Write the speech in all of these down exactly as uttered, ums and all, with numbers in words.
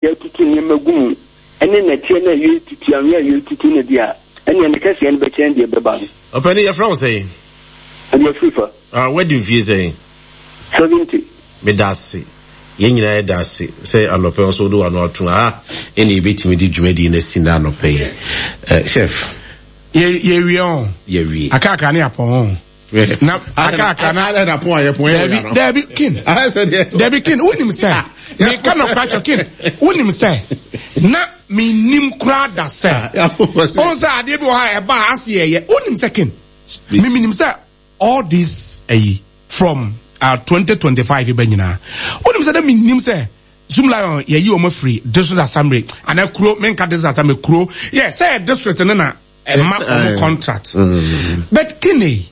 Yɛtutu nneɛma gu mu ne nnɛteɛ no a yɛretutu, anwea a yɛretutu no deɛ a, ɛnneɛ ne kɛseɛ no bɛkyɛn deɛ ɛbɛba no. Ɔpanin, yɛfrɛ wo sɛn? Ɛdeɛ afiri fa. Ah, woadi mfie sɛn? Seventy. Meda ase. Yɛn nyinaa yɛda ase sɛ anɔpɛ nso wode w'ano ato ha ɛne yɛbɛtumi de dwumadie no asi nnɛ anɔpɛ yi. Eh, chef. Yɛwie ɔ. Yɛwie. Akaakra ne apɔn ɔ. Na akaakra na. Adɛ na pɔn a yɛpɔn yɛ dabi dabi kin. Dabi kin wonim sɛ meka no kora kyɛ kin wonim sɛ na menim koraa da sɛ ɔn sɛ adeɛ bi wɔ ha ɛba a ase yɛyɛ wonim sɛ kin memenim sɛ all this ayi from uh, twenty twenty-five bɛ nyinaa wonim sɛ na menim sɛ Zoomlion yɛyi wɔn afiri district assembly anaa kuro menka district assembly kuro yɛ sɛ yɛ district no na ɛma wɔn contract but kine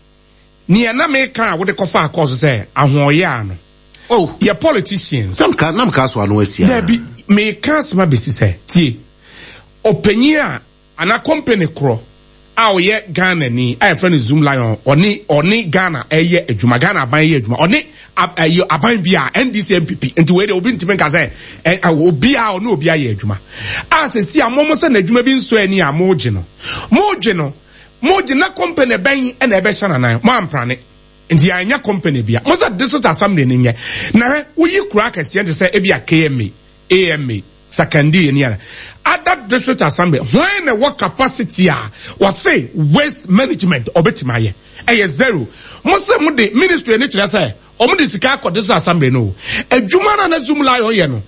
nea na meka a wode kɔfa akɔɔ so sɛ ahoɔyɛ ano oh yɛ politicians namka namka so ano asia dabi meka asɛm abɛsi sɛ tie ɔpanyin a anaa company korɔ a ɔyɛ Ghana ni a yɛfrɛ no Zoomlion ɔne ɔne Ghana ɛyɛ adwuma Ghana aban yɛ adwuma ɔne ɛyɛ aban bi a N D C N P P nti wei de obi ntumi nka sɛ ɛ obi a ɔne obi ayɛ adwuma a sɛ si a mo mo sɛ n'adwuma bi nso ani a mo gye no mo gye no mo gye na company bɛn ɛna ɛbɛhyɛ n'anan mo amprane nti yɛanya company bia mo sɛ district assembly ne nyɛ na hwɛ woyi kura akɛseɛ nte sɛ ebi a K M A A M A Sakandi ni ana other district assembly when the work capacity a was say waste management obetima ye eh zero mo say mo de ministry ni kire say o mo de sika akọ district assembly no adwuma na na Zoomlion ye no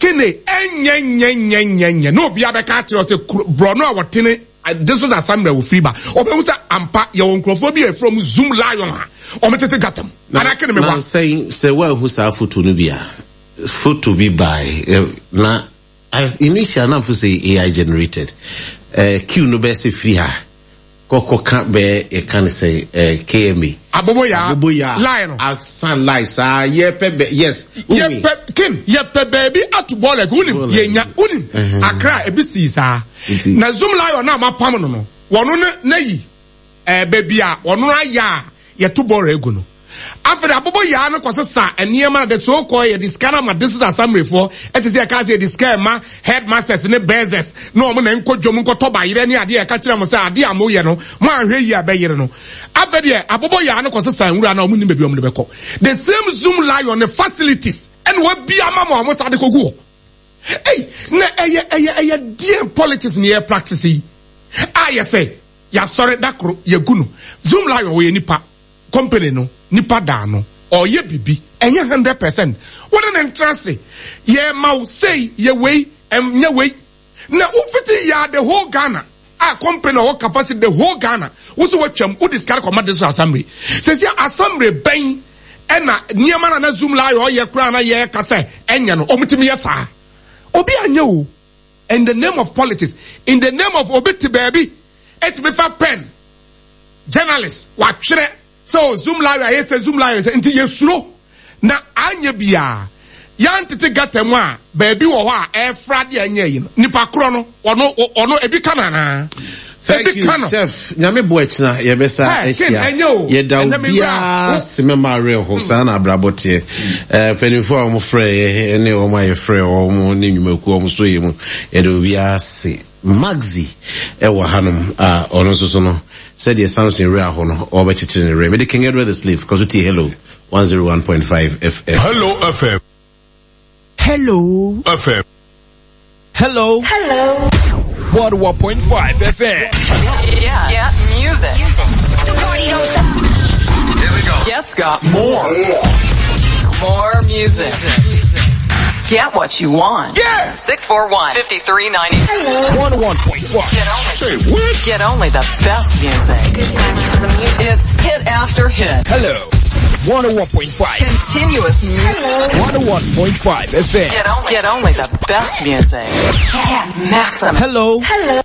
kene enye nye nye nye nye no obi abeka kire say bro no a wotene district assembly wo free ba obehu say ampa ye won nkrofo bi e from Zoomlion a o metete gatam ana kene me wa na say say wa hu sa photo no bia photo bi by na initial na say A I generated uh, Q no be say free ha koko kan be e can say uh, K M A aboboya aboboya line asan line sa ye pe yes ye pe kin ye pe baby atu ball like unim ye nya unim Accra e bi si sa na Zoomlion na ma pam no no wono na yi eh baby a wono aya ye to ball egu no after aboboya no kwase sa eniema de so call ye discana ma district assembly for it is e ka say discana ma headmasters ne bursars no mo na nkodwom nkotoba yire ne ade e ka kire mo say ade amoye no mo ahwe yi abeyire no after de aboboya no kwase sa nwura na mo ni bebi o mo be the same Zoomlion the facilities and we bia ma mo mo sa de kogu hey na eye eye eye dear politics ne practice yi ah yes say ya sorry dakro ye gunu Zoomlion we nipa company no nipa da no or ye bibi enye one hundred percent what an interest ye ma say ye wey enye wey na ufiti ya the whole Ghana a company or capacity the whole Ghana wo so watwam wo discard command this assembly say say assembly ben na niema na na Zoomlion ye kra na ye ka say enye no omutimi ye saa obi anye o in the name of politics in the name of obiti baby et me fa pen journalist wa twere so Zoomlion I say Zoomlion say nti yesuro na anye bia ya ntete gata mu a baabi wo ho a e frade anye yi no nipa kro no ono ono ebi kana na thank you chef nyame bo akina ye besa asia ye da bia semema re ho sa na abrabote eh panifo a mo frɛ ye ne o ma ye frɛ o mo ne nwumaku o mo so ye mu ye da bia se Maxi ewa hanum a ono so so no said the Samson re aho no o be chichire ne re me de King Edward the Slave because we hello one oh one point five F M Hello F M Hello F M Hello Hello one oh one point five F M Yeah, yeah, music. The party don't stop. Here we go. Gets got more. More music. Get what you want. Yeah. six four one, five three nine eight. Hello. one oh one point one. Get only, Say what? Get only the best music. It's hit after hit. Hello. one oh one point five. Continuous music. Hello. one oh one point five F M. Get only, get only the best music. Get maximum. Hello. Hello.